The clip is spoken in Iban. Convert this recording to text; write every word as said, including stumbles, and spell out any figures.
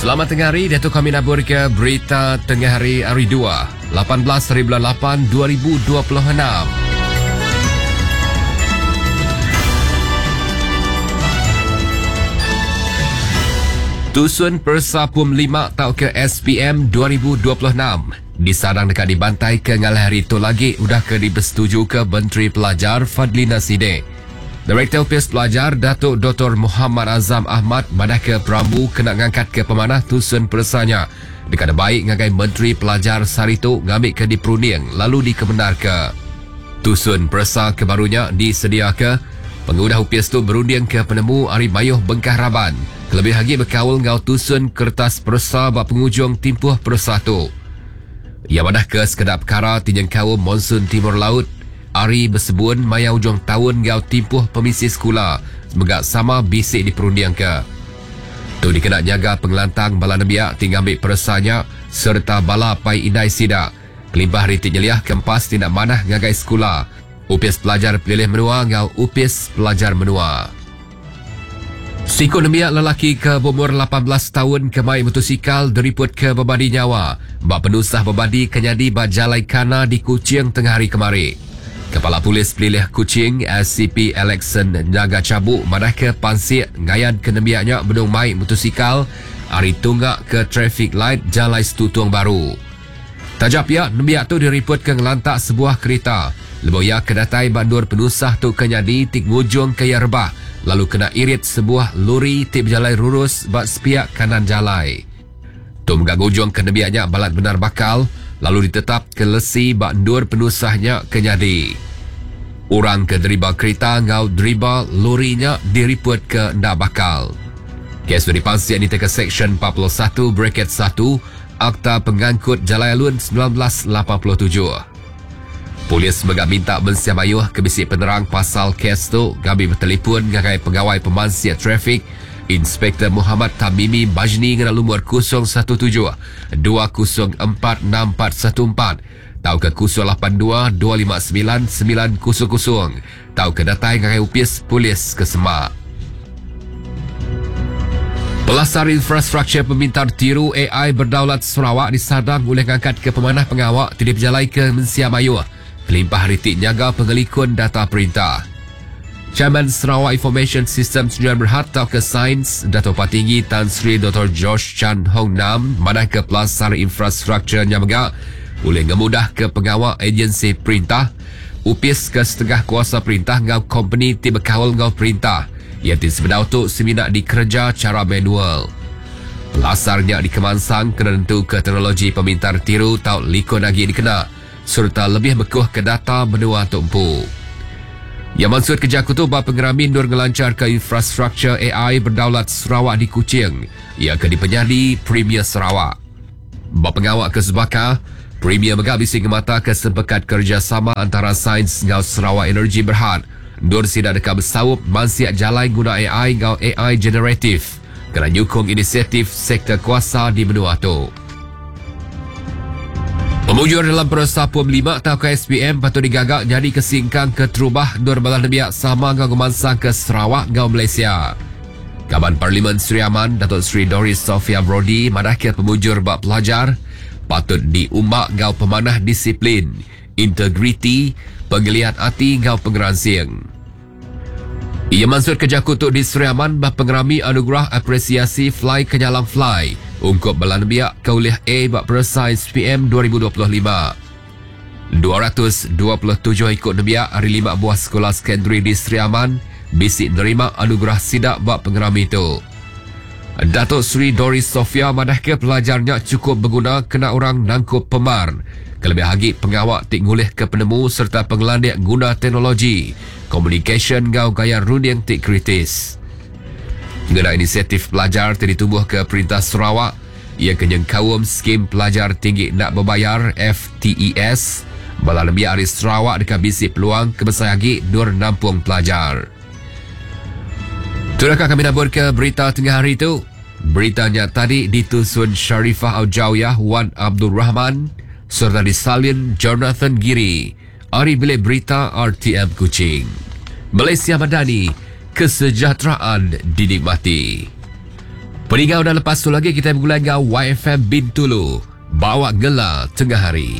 Selamat tengah hari, Datuk kami nabur ke berita tengah hari hari dua, lapan belas hari bulan lapan dua ribu dua puluh enam. Tusun Persa Pum lima tau ke S P M dua ribu dua puluh enam disadang dekat dibantai ke ngalah hari tu lagi udah ke dibersetuju ke Menteri Pelajar Fadhlina Sidek. Direktur Opis Pelajar Datuk Doktor Muhammad Azam Ahmad madah ke Perambu kena ngangkat ke pemanah tusun persanya dekat baik ngagai Menteri Pelajar Saritu ngambil ke diperunding lalu dikebenar ke. Tusun persa kebarunya disediaka pengudah Opis tu berunding ke penemu ari mayuh bengkah raban. Kelebih lagi berkaul ngau tusun kertas persa bak penghujung timpuh persa tu. Ia madah ke sekedap perkara tinjeng kaum monsun timur laut ari bersebun maya ujung tahun ngau timpuh pemisi sekolah semoga sama bisik diperunding ke. Tu dikena jaga pengelantang bala nembiak tinggal ambil persanya serta bala pai indai sida. Kelimpah ritik nyeliah kempas tindak manah ngagai sekolah. Upis pelajar pilih menua ngau upis pelajar menua. Siku nembiak lelaki ke berumur lapan belas tahun ke mai motosikal deriput ke berbadi nyawa. Bak penusah berbadi kenyadi bak Jalai Kana di Kuching tengah hari kemari. Kepala Polis Pelilih Kuching S C P Alexon Nyaga Cabuk madah ke pansik ngayan ke nembiaknya benung mai motosikal ari tunggak ke traffic light Jalai Setutung Baru. Tajap pihak nembiak tu diriput ke ngelantak sebuah kereta. Leboya kedatai bandur penusah tu kenyadi tik ngujung ke ia rebah lalu kena irit sebuah lori tik berjalai lurus bak sepiak kanan jalai. Tu megak ngujung ke nembiaknya balat benar bakal lalu ditetap ke lesi bak ndur penusahnya kenyadi. Orang ke deriba kereta ngau deriba lorinya diriput ke ndak bakal. Kes dipansian di teka Seksyen empat puluh satu bracket satu Akta Pengangkut Jalai Alun sembilan belas lapan puluh tujuh. Polis megak minta mensia mayuh ke bisi penerang pasal kes tu gabi bertelefon ngagai pegawai pemansia trafik Inspektor Muhammad Tamimi Bajni ngena lumur kosong satu tujuh dua kosong empat enam empat satu empat tau ke kosong lapan dua dua lima sembilan sembilan kosong kosong tau ke datai ngagai upis polis ke Semak. Pelasar infrastruktur pemintar tiru A I berdaulat Sarawak disadang oleh ngangkat ke pemanah pengawak tidak berjalai ke Mensia Mayuh. Kelimpah ritik nyaga pengelikun data perintah. Chairman Sarawak Information System Sdn Berhad tau ke Sains Dato' Patinggi Tan Sri Doktor George Chan Hong Nam madah ke pelasar infrastrukturnya megak boleh ngemudah ke pengawal agensi perintah upis ke setengah kuasa perintah ngau company ti berkawal ngau perintah yang ti sebenar tu seminak dikerja cara manual. Pelasarnya dikemansang kena tentu ke teknologi pemintar tiru tau likun lagi dikena serta lebih bekuh ke data menua tumpu. Yang maksud kerja aku tu bab pengerami nur ngelancar ke infrastruktur A I berdaulat Sarawak di Kuching ia ke dipenyadi Premier Sarawak. Bab pengawak ke Sebaka, Premier megak bisi ngemata ke sempekat kerjasama antara Sains ngau Sarawak Energy Berhad. Nur sidak dekat bersaup mansiak jalai guna A I ngau A I generatif kena nyukung inisiatif sektor kuasa di benua tu. Pemujur dalam persa Pum lima atau K S P M patut digagak jadi kesingkang ke terubah Nur Balah Nebiak sama ngau ngemansang ke Sarawak ngau Malaysia. Kaban Parlimen Sri Aman Datuk Sri Doris Sophia Brodie madah ke pemujur bab pelajar patut diumbak ngau pemanah disiplin, integriti, penggeliat hati ngau pengeransing. Ia maksud kerja kutuk di Sri Aman bah pengerami anugerah apresiasi Fly Kenyalang Fly ungkup belan biak kaulih A bak persa S P M dua ribu dua puluh lima. dua ratus dua puluh tujuh ikut nebiak hari lima buah sekolah sekondari di Sri Aman bisik nerima anugerah sidak bak pengerami itu. Datuk Sri Doris Sophia madah ke pelajarnya cukup berguna kena orang nangkup pemar. Kelebih lagi pengawak tik ngulih ke penemu serta pengelandik guna teknologi, communication ngau gaya runding tik kritis. Mengenai inisiatif pelajar telah ditubuh ke Perintah Sarawak, ia kenyang kaum skim pelajar tinggi nak berbayar F T E S, bala lebih hari Sarawak dekat bisik peluang kebesar lagi dur nampung pelajar. Itulah kami nabur ke berita tengah hari itu. Beritanya tadi ditusun Sharifah Aujawiyah Wan Abdul Rahman serta disalin Jonathan Giri. Ari Bilik Berita R T M Kuching. Malaysia Madani, kesejahteraan dinikmati. Peninggal udah lepas tu lagi kita bergulai dengan Y F M Bintulu. Bawa gela tengah hari.